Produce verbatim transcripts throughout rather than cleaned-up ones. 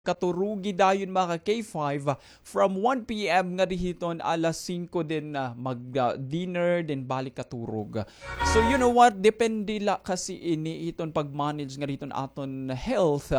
katurugi dayon, mga ka-K five, from one P M ngadi hiton alas singko, then, ah, mag, ah, dinner, then balik katurog. So, you know what? Depende la kasi ini hiton pag-manage ngadi hiton aton health.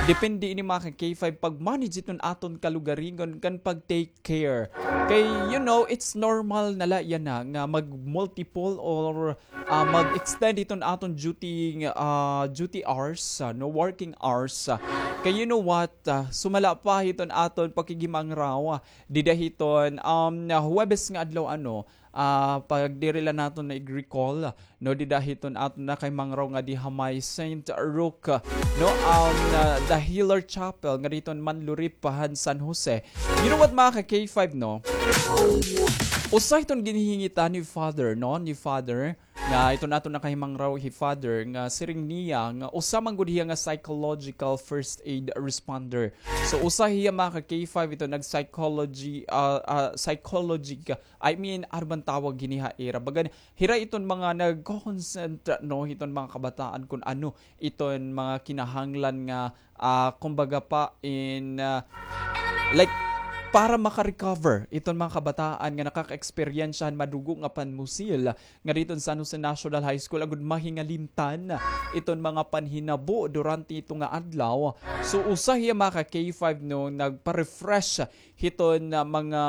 Depende ini, mga ka-K five, pag-manage hiton aton kalugaringon kan pag-take care. Kay, you know, it's normal na la yana nga mag-multiple or, ah, mag-extend hiton aton duty, ah, duty hours, ah, no, working hours. Ah. Kay, you know what, ah, sumala pa hiton aton pakigimangraw, ah, dida hiton, um, Huwebes nga adlaw, ano, ah, pag diri la naton na-recall, no, dida hiton aton nakahimangraw ngadi ha may Saint Roque, no, um, ah, the Healer Chapel ngadi hiton Manlurip han San Jose. You know what, mga ka-K five, no? Usa hiton ginhingita ni Father, no, ni Father, nga iton aton nakahimangraw hi Father, nga siring niya nga usa man gud hiya nga psychological first aid responder. So, usa hiya, mga ka-K five, ito nag-psychology, ah, ah, psychology ka, I mean, ano bang tawag hini ha ira? Baga, hira iton mga nagko-consent, no, iton mga kabataan kun ano iton mga kinahanglan nga, ah, kumbaga pa in, ah, like, para maka-recover iton mga kabataan nga nakaka-eksperyensya han madugo nga panmusil ngadi hiton San Jose National High School agud mahingalimtan iton mga panhinabo durante ito nga adlaw. So, usa hiya, mga ka-K five, no, nagpa-refresh hiton, ah, mga,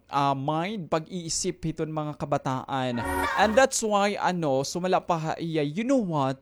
ah, mind, pag-iisip hiton mga kabataan. And that's why, ano, sumala pa ha iya, you know what?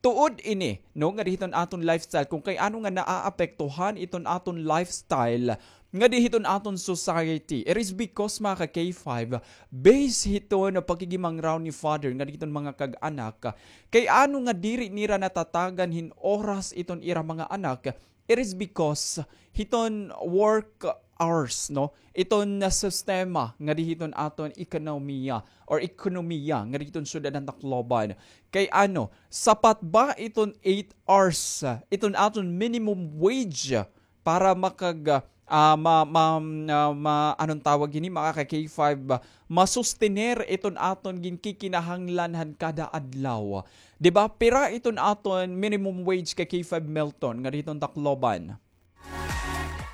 Tuod ini, no, ngadi hiton aton lifestyle, kung kay ano nga naaapektuhan iton aton lifestyle ngadi hiton aton society. It is because, mga ka-K five, based hiton pakigimangraw ni Father ngadi hiton mga kag-anak, kay ano nga diri nira natatagan hin oras iton ira mga anak, it is because hiton work hours, no? Iton na sistema ngadi hiton aton ekonomiya or ekonomiya ngadi hiton syudad han Tacloban. Kay ano, sapat ba iton eight hours, ah, iton aton minimum wage para makag-, ah, ma-, ma-, ah, ma-, anong tawag hini, mga ka-K five, ah, masustener iton aton ginkikinahanglan han kada adlaw? Di ba? Pira iton aton minimum wage, ka-K five Milton, ngadi hiton Tacloban?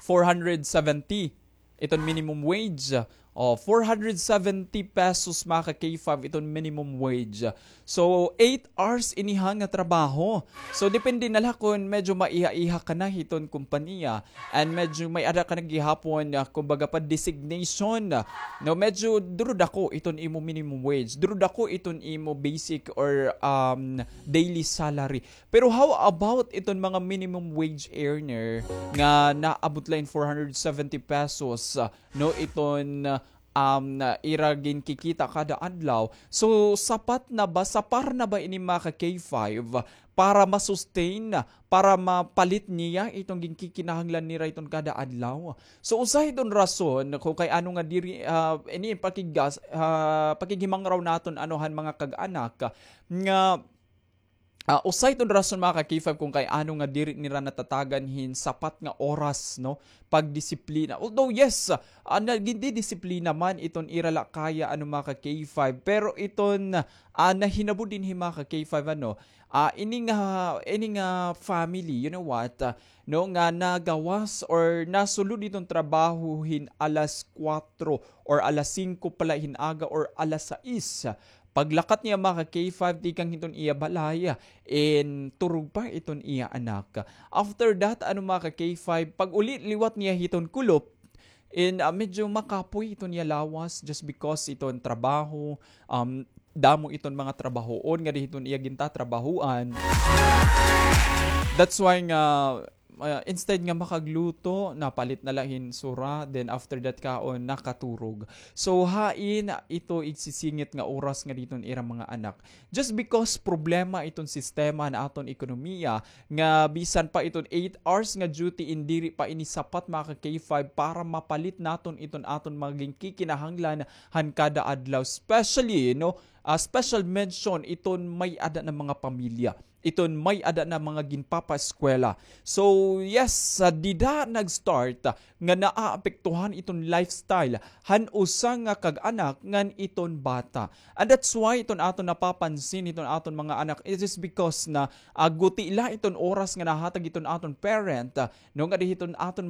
Four hundred seventy iton minimum wage. O, four hundred seventy pesos, mga ka-K five, iton minimum wage. So, eight hours ini ha nga trabaho. So, depende na la kon medyo maiha-iha ka na hiton kompanya and medyo may-ada ka na gihapon, ah, kumbaga pa designation. No, medyo duro dako iton imo minimum wage. Duro dako iton imo basic or, um, daily salary. Pero how about iton mga minimum wage earner nga naabot la hin four hundred seventy pesos, ah, no, iton, um, ira ginkikita kada adlaw? So, sapat na ba, sapar na ba ini, mga ka-K five, para ma-sustain, para mapalit niya iton ginkikinahanglan nira iton kada adlaw? So, usa hiton rason kung kay ano nga diri, ah, ini pakigas-, ah, pakighimangraw naton, ano, han mga kag-anak nga ah, usa iton rason, mga ka-K five, kung kay ano nga diri nira natatagan hin sapat nga oras, no, pagdisiplina. Although, yes, ah, nagindidisiplina man iton ira la kaya, ano, mga ka-K five, pero iton, ah, nahinabo dinhi, mga ka-K five, ano, ah, ini nga, ini nga family, you know what, ah, no, nga nagawas or nasulod iton trabaho hin alas kuwatro or alas singko pa la hin aga or alas sais. Paglakat niya, mga ka-K five, tikang hiton iya balay, in turog pa iton iya anak. After that, ano, mga ka-K five, pag-uli liwat niya hiton kulop, in, ah, medyo makapoy iton iya lawas just because iton trabaho, um, damo iton mga trabahoon ngadi hiton iya gintatrabahoan. That's why nga ah, instead nga makagluto, napalit na la hin sura, then after that kaon, nakaturog. So, hain ito igsisingit nga oras ngadi hiton ira mga anak? Just because problema iton sistema han aton ekonomiya, nga bisan pa iton eight hours nga duty, in diri pa ini sapat, mga ka-K five, para mapalit naton iton aton mga ginkikinahanglan han kada adlaw, especially, no, ah, special mention iton may-ada nga mga pamilya. iton may-ada na mga ginpapaeskwela. So, yes, sa dida nag-start, ah, nga naaapektuhan iton lifestyle han usa nga kag-anak ngan iton bata. And that's why iton aton napapansin iton aton mga anak, it is because na, ah, guti la iton oras nga nahatag iton aton parent, ah, no, nga di hiton aton